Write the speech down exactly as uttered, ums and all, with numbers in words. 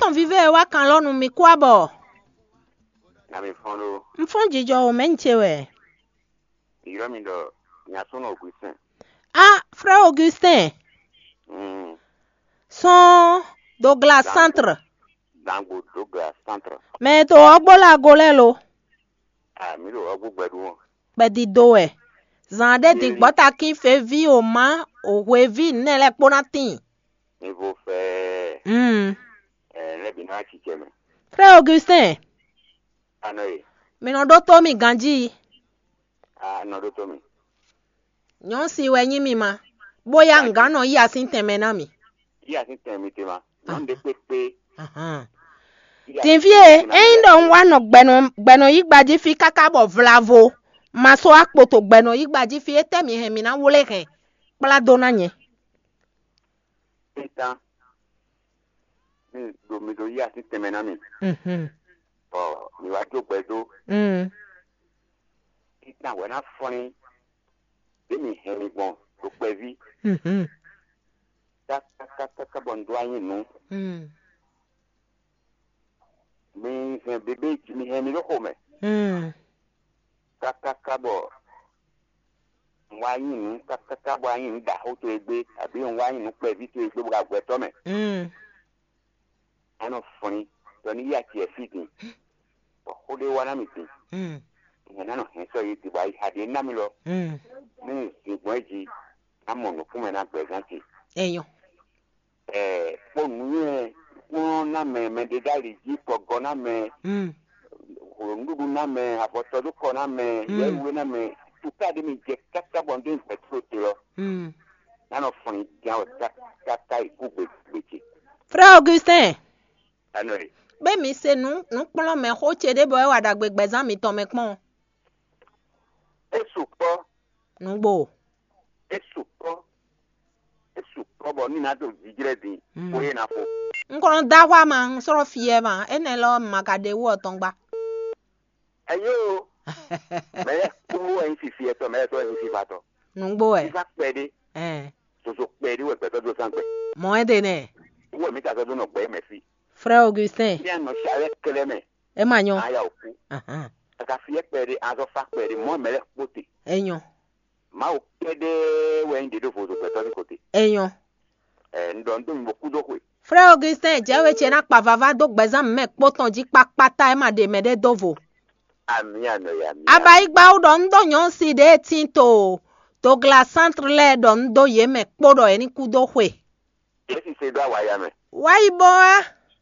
tɔn vívɛ e wá kan lɔ nú mi kú abɔ. Na mi fɔ́n ɖó. Un fɔ́n jijɔ o, mɛ̌ un ce wɛ? Ylɔ́ mi ɖɔ Nyasúnɔ Augustin. Ah, frère Augustin. Mm. Sɔn Douglas Centre. Dangbo Douglas Centre. Mɛ to ɔgbo la go lɛ lo. Ah, mi ɖo ɔgbo gbɛɖu ɔn. Kpɛdí do wɛ. Zan ɖé din gbɔ́ takín feví o ma o hweví nɛ lɛ kpó ná tín. Mi vo fɛ. Mm. Ɛ, lɛ bi ná ci cɛ mɛ. Frère Augustin. Anɔ ye. Mi nɔ ɖótó mi ganjí. Ah, nɔ ɖótó mi. Nyɔ̌si wɛ nyí mi ma, bóyá un gǎn nɔ yí asín tɛnmɛ ná mi. Yí asín tɛnmɛ mi te ma. Nyɔ̌nu ɖé kpékpé. Ahan. Yí asín Din fí e, tɛnmɛ mi te ma. Ényí ɖɔ un wá nɔ gbɛnɔ gbɛnɔ yí gbají fí káká bɔ vlavo ma sɔ́ akpoto gbɛnɔ yí gbají fí, étɛ́ mi hɛn mi ná wlé hɛn kplá dó ná nyɛ? Títán. Mi ɖo mi ɖo yí asín tɛnmɛ ná mi. Mhm. Bɔ mi wá jó gbɛ dó. Mm. Títán wɛ ná flín. Ɖé mi hɛn mi gbɔn ɖo kpɛví. Mhm. Kákákáká bɔ un dó anyi nǔ. Mm. Mi hɛn bébé mi hɛn mi ɖó xomɛ. Mm. Kákáká bɔ un wá nyi nǔ kákáká bɔ anyi nǔ ɖaxó towe gbé, abǐ un wá nyi nǔ kpɛví towe gbé bɔ agbɛtɔ́ mɛ. Mm. A nɔ flín ɖɔ ní yí acɛ fí din, bɔ xó ɖé wá ná mi din. Mm. Nyɛ ná nɔ hɛn sɔ́ yě din bɔ ayixa ɖé ná mi lɔ. Mm. Ní un zin gbɔn é jí, ná mɔ nǔkún mɛ ná gbɛzán ce. Enyɔ. Ɛ, kpó nǔnywɛ kplɔ́n ná mɛ, mɛɖeɖáli jí kɔgɔ ná mɛ, Mm. nǔɖuɖu ná mɛ, avɔtɔdókɔ ná mɛ, Mm. yɛ́wé ná mɛ, tuká ɖé mi jɛ káká bɔ un dó nyi gbɛ̌ tló te lɔ. Mm. Ná nɔ fɔn nyi gán wɛ káká yi kú gběgbé ce. Frère Augustin, Anɔ e. Bɛ mi se nǔ nǔkplɔ́nmɛ xó ce ɖé bɔ é wa ɖagbe gbɛzán mitɔn mɛ kpɔ́n. É sukpɔ́. Nǔgbó. É sukpɔ́. É sukpɔ́ bɔ ní ná ɖo jijlɛ́ din Mm. kó é ná fo. Un kɔn nɔ dó axwá ma, un sɔ́ nɔ fiɛ ma, énɛ́ lɔ ma ka ɖe wú ɔtɔn gba. Ɛyó, mɛ lɛ́ kpó wɛ nyí fifi ɛtɔ, mɛ lɛ́ tɔ́ wɛ nyí fifa tɔ. Nǔgbó wɛ. Fifa kpɛɖé, Ɛn. Zozo kpɛɖé wɛ gbɛtɔ́ dó zán gbɛ. Mɔ ɛ ɖe nɛ. Wú wɛ mí ta sɔ́ dó nɔ gbɛ mɛ fí. Frère Augustin. Ní a nɔ si alɛ kɛlɛ mɛ, Ɛ ma nyɔ. A ya o kú. Ahan. A ka fiɛ kpɛɖé, a zɔ fa kpɛɖé, mɔ mɛ lɛ́ kpó te. Ɛ nyɔ. Mawu kɛɖɛɛ wɛ nyí ɖě ɖo vodun gbɛtɔ́ ní ko te. Ɛ nyɔ. Ɛ, un ɖɔ un dó mi bó kú dó xwe. Frère Augustin, jɛ we ce ná kpa vava dó gbɛzán mɛ kpó tɔn jí kpakpata ɛ ma ɖe mɛ ɖé dó vo. Ami anɔ ya mi. Abayigba wú ɖɔ un dó nyɔ̌nu si ɖě e tín to Dogla Centre lɛ́ɛ ɖɔ un dó yě mɛ kpó ɖɔ yě ní kú dó xwe. Yě si se dó awaya mɛ. Wá yi bɔ wá.